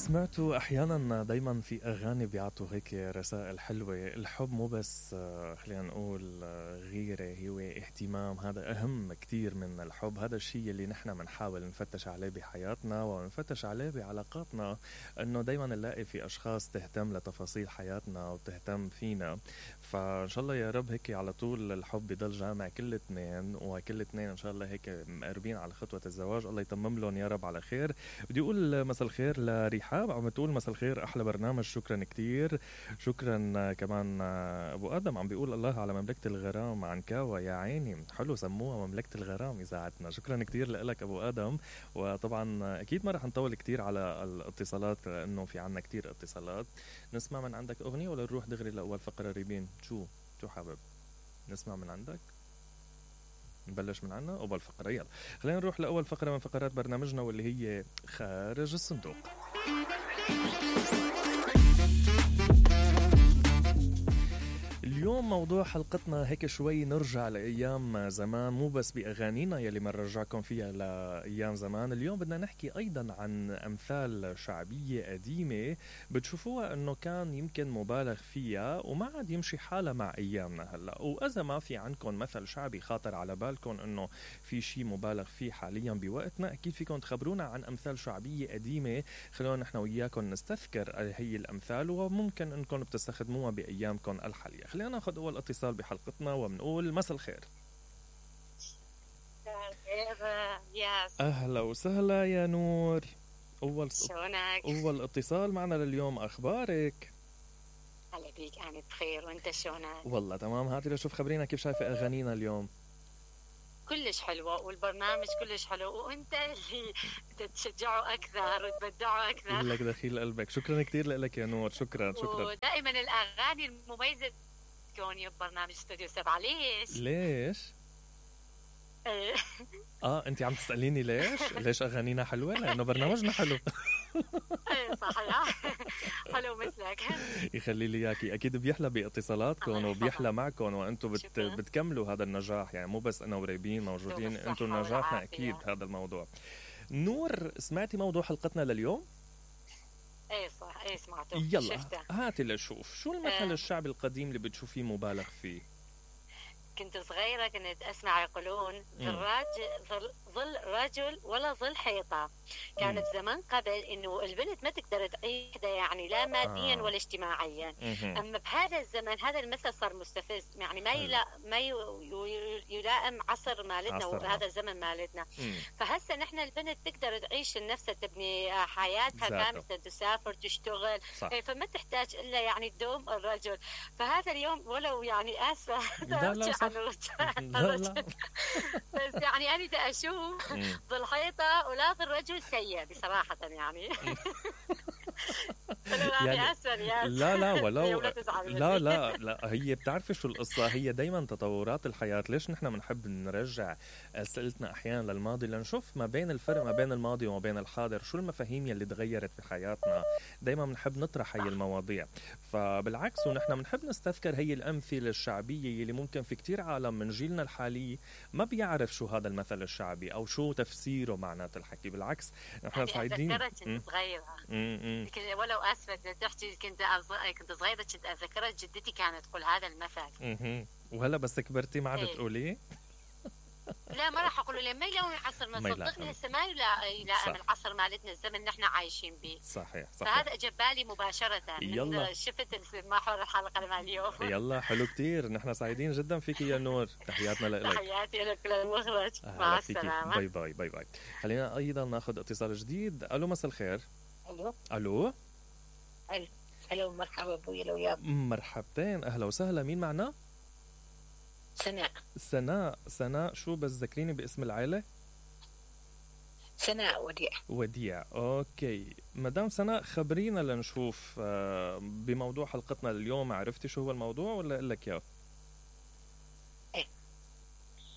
سمعتوا احيانا دايما في اغاني بيعطوا هيك رسائل حلوه. الحب مو بس خلينا نقول غيره، هو اهتمام. هذا اهم كتير من الحب. هذا الشيء اللي نحن بنحاول نفتش عليه بحياتنا ونفتش عليه بعلاقاتنا، انه دايما نلاقي في اشخاص تهتم لتفاصيل حياتنا وتهتم فينا. فان شاء الله يا رب هيك على طول الحب يضل جامع كل اثنين، وكل اثنين ان شاء الله هيك مقربين على خطوه الزواج. الله يتمم لهم يا رب على خير. بدي اقول مساء الخير لرحاب، عم بتقول مساء الخير احلى برنامج، شكرا كتير. شكرا كمان ابو ادم عم بيقول الله على مملكه الغرام عن كاوا، يا عيني حلو سموها مملكه الغرام اذاعتنا. شكرا كتير لك ابو ادم. وطبعا اكيد ما رح نطول كتير على الاتصالات لانه في عنا كتير اتصالات. نسمع من عندك اغنيه ولا نروح دغري لاول فقره؟ ريبين شو حابب نسمع من عندك؟ نبلش من عنا أول فقرة. يلا خلينا نروح لأول فقرة من فقرات برنامجنا واللي هي خارج الصندوق. اليوم موضوع حلقتنا هيك شوي نرجع لأيام زمان، مو بس بأغانينا يلي ما نرجعكم فيها لأيام زمان. اليوم بدنا نحكي أيضا عن أمثال شعبية قديمة بتشوفوها أنه كان يمكن مبالغ فيها وما عاد يمشي حالها مع أيامنا هلأ. وإذا ما في عندكم مثل شعبي خاطر على بالكم أنه في شيء مبالغ فيه حاليا بوقتنا، أكيد فيكم تخبرونا عن أمثال شعبية قديمة. خلونا نحن وياكم نستذكر هي الأمثال وممكن أنكم بتستخدموها بأيامكم الحالية. خلينا ناخذ أول اتصال بحلقتنا وبنقول مساء الخير. أهلا وسهلا يا نور. أول اتصال معنا لليوم، أخبارك؟ هلا بيك، أنا بخير وأنت شلونك؟ والله تمام. هاتي لشوف خبرينا كيف شايفة أغانينا اليوم. كلش حلوة والبرنامج كلش حلو، وأنت اللي تشجعه أكثر وتبدعه أكثر. لك دخيل قلبك. شكرا كتير لك يا نور. شكرا. ودائما الأغاني المميزة كوني ببرنامج استوديو 7. ليش؟ انت عم تسأليني ليش اغانينا حلوة؟ لانه برنامجنا حلو. صحيح. حلو مثلك. يخلي لي اياكي. اكيد بيحلى باتصالاتكم وبيحلى معكم وانتم بتكملوا هذا النجاح، يعني مو بس انا وريبين موجودين، انتم نجاحنا اكيد هذا الموضوع. نور، سمعتي موضوع حلقتنا لليوم؟ ايه صح، ايه سمعته. يلا هاتي لشوف شو المثل الشعبي القديم اللي بتشوفيه مبالغ فيه. كنت صغيرة كنت أسمع يقولون ظل رجل ولا ظل حيطة. كانت زمان قبل إنه البنت ما تقدر تعيش يعني لا ماديا ولا اجتماعيا. أما بهذا الزمن هذا المثل صار مستفز، يعني ما يلائم عصر مالتنا وهذا الزمن مالتنا. فهسه نحن البنت تقدر تعيش لنفسها، تبني حياتها كاملة، تسافر تشتغل، فما تحتاج إلا يعني تدوم الرجل. فهذا اليوم ولو يعني آسفة لا. بس يعني أنا دا أشوف ظل حيطة ولا ظل رجل سيء بصراحة يعني. لا هي بتعرفي شو القصة. هي دايما تطورات الحياة. ليش نحن بنحب نرجع أسئلتنا أحيانا للماضي؟ لنشوف ما بين الفرق ما بين الماضي وما بين الحاضر، شو المفاهيم يلي تغيرت بحياتنا. دايما بنحب نطرح هي المواضيع. فبالعكس ونحن بنحب نستذكر هي الأمثلة الشعبية اللي ممكن في كتير عالم من جيلنا الحالي ما بيعرف شو هذا المثل الشعبي أو شو تفسيره معنات الحكي. بالعكس نحن سعيدين. أتذكرت صغيرة ولو أسفة تحكي كنت صغيرة كنت أتذكرت جدتي كانت تقول هذا المثل. وهلا بس كبرتي ما عاد تقوليه؟ لا ما راح أقوله لما يلون عصر ما صدقني هسه ما يلائم العصر مالتنا الزمن اللي احنا عايشين به. صحيح. فهذا أجى بالي مباشرة من شفت محور الحلقة مال اليوم. يلا حلو كتير. نحن سعيدين جدا فيك يا نور. تحياتنا لك. تحياتي لك للمخرج. مع السلامة. باي باي. خلينا أيضا ناخذ اتصال جديد. ألو مساء الخير. ألو مرحبا ابوي لو ياب. مرحبتين، اهلا وسهلا. مين معنا؟ سناء. شو بس ذكريني باسم العائلة؟ سناء وديع. اوكي مدام سناء، خبرينا لنشوف بموضوع حلقتنا اليوم. عرفتي شو هو الموضوع ولا اقول لك اياه؟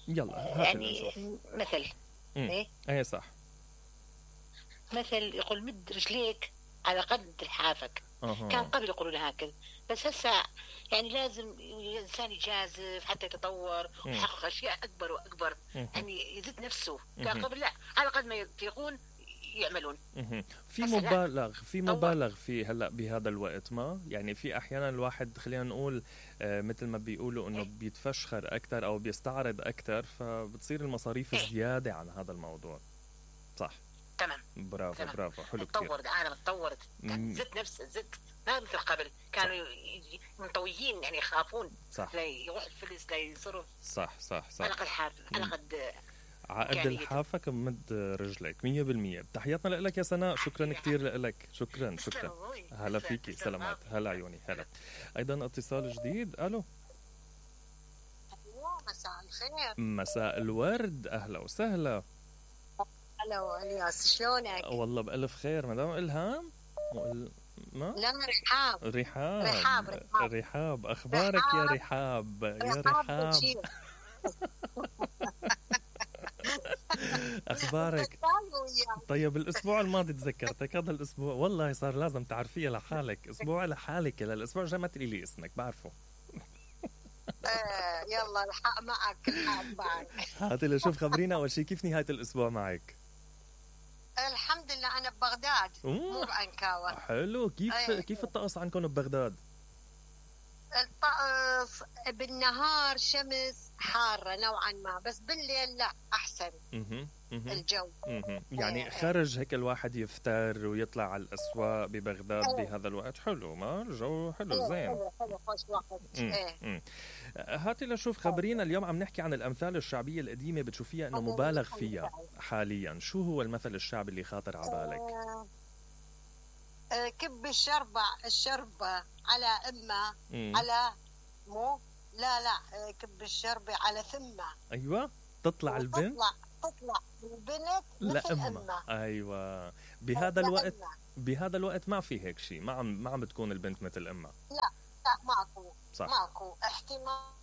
يلا يعني مثل ايه صح. مثل يقول مد رجليك على قد لحافك. كان قبل يقولون هكذا، بس هسه يعني لازم الإنسان يجازف حتى يتطور ويحقق أشياء أكبر وأكبر، يعني يزيد نفسه. كان قبل لا، على قد ما يطيقون يعملون. في مبالغ في هلا بهذا الوقت، ما يعني في احيانا الواحد خلينا نقول مثل ما بيقولوا انه بيتفشخر اكثر او بيستعرض اكثر، فبتصير المصاريف زياده عن هذا الموضوع. صح تمام. برافو تمام. برافو حلو كثير. تطور العالم، تطورت، الزت ما مثل قبل، كانوا منطويين يعني يخافون لا يروح الفلس لا يصرف. صح صح صح. على قد حافظ على قد عقد الحافة كمد رجلك 100%. تحياتنا لك يا سناء، شكرا كتير لك. شكرا هلا فيكي، سلامات. هلا عيوني. هلا. ايضا اتصال جديد. الو. مساء الخير. مساء الورد، اهلا وسهلا. الو الياس، شلونك؟ والله بألف خير. مدام إلهام ما؟ لا، رحاب. اخبارك يا رحاب؟ يا رحاب اخبارك؟ طيب الاسبوع الماضي تذكرتك، هذا الاسبوع والله صار لازم تعرفيها لحالك، اسبوع لحالك. الاسبوع الجاي ما تقولي لي اسمك، بعرفه. يلا الحق معك. هاتي لشوف، خبرينا اول شيء كيف نهاية الاسبوع معك؟ الحمد لله انا ببغداد مو بعنكاوة. حلو. كيف الطقس عندكم ببغداد؟ الطقس بالنهار شمس حارة نوعا ما، بس بالليل لا أحسن. الجو يعني خرج هيك الواحد يفتر ويطلع على الأسواق ببغداد بهذا الوقت. حلو، ما الجو حلو زين. حلو خوش وقت. هاتي لشوف، خبرينا اليوم عم نحكي عن الأمثال الشعبية القديمة بتشوفيها إنه مبالغ فيها حاليا. شو هو المثل الشعبي اللي خاطر على بالك؟ كب الشربة على أمه على مو لا كب الشربة على ثمة. أيوة، تطلع البنت البنت مثل أمها. أيوة. بهذا الوقت ما في هيك شيء، ما عم بتكون البنت مثل أمها. لا ماكو. صح. ماكو احتمال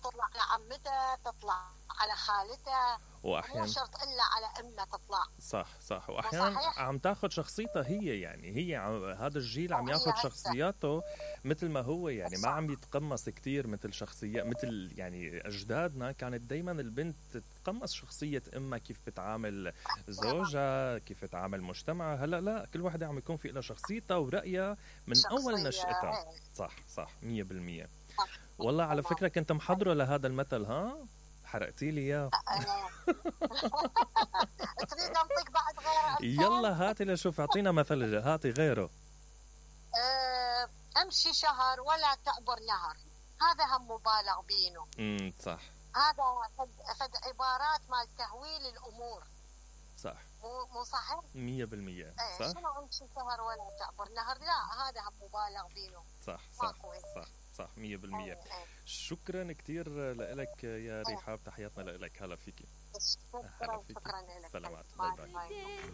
تطلع على عمتها، تطلع على خالتها، واحيانا مو شرط الا على امها تطلع. صح. واحيانا عم تاخذ شخصيتها هي، يعني هذا الجيل عم ياخذ شخصياته مثل ما هو، يعني ما عم يتقمص كتير مثل شخصيات مثل يعني اجدادنا. كانت دايما البنت تتقمص شخصيه امها، كيف بتعامل زوجها، كيف بتعامل مجتمعها. هلا لا، كل واحدة عم يكون في لها شخصيتها ورأيها من اول نشأتها. صح 100%. والله على فكرة كنت محضرة لهذا المثل، ها حرقتي لي اياه. تريد نعطيك بعد غيره؟ يلا هاتي لشوف، اعطينا مثل، هاتي غيره. امشي شهر ولا تعبر نهر، هذا هم مبالغ بينه. صح. هذا فد عبارات مال تهويل الامور. صح. مو صحيح 100%. صح. شنو امشي شهر ولا تعبر نهر؟ لا، هذا هم مبالغ بينه. صح 100%. شكرا كتير لك يا رحاب، تحياتنا لك. هلا فيكي. شكرا لك. سلامات. باي.